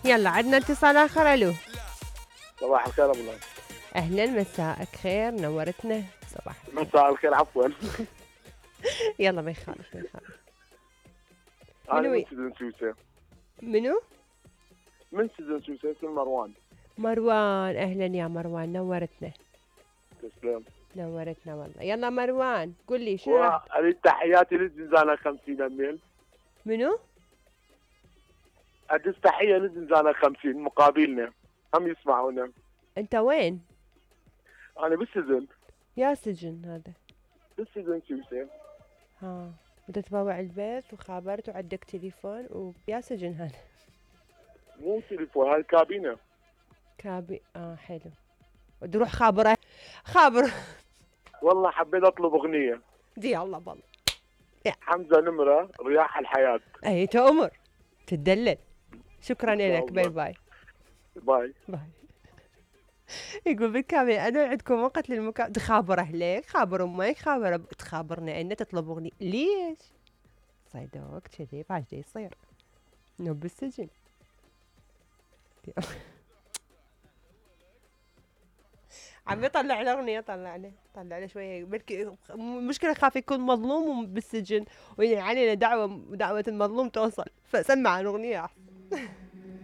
يلا عندنا اتصال آخر. ألو صباح الخير ابو الله. أهلا مساءك خير نورتنا. صباح الخير. مساء الخير عفوا. يلا ما يخالف ما يخالف. انا من سجن سوسه. منو؟ من سجن سوسه اسمي مروان. مروان أهلا يا مروان نورتنا. تسلم. نورتنا والله. يلا مروان قل لي شنو اريد تحياتي للزنزانة 50 اميل. منو؟ ادز تحيه للزنزانة 50 مقابلنا هم يسمعونا. انت وين؟ انا بالسجن. يا سجن هذا؟ بالسجن سوسه. ها انت تبوع البيت وخابرت وعندك تليفون ويا سجن هذا؟ مو تليفون هاي كابينه. حلو. تروح خابره خابر. والله حبيت اطلب اغنيه. دي الله بالله. حمزه نمره رياح الحياه. اي تأمر تدلل. شكرا لك. باي باي. باي باي. يقول بالكامل انا عندكم وقت للمكالمة. تخابر اهلك خابر امك خابر تخابرنا ان تطلب اغنيه ليش؟ صيدوك كذي بعد يصير نوب بالسجن. عم يطلع له اغنيه. طلع له شويه بلكي مشكله خاف يكون مظلوم بالسجن ويعني علينا دعوه المظلوم توصل فسمع الاغنيه احسن.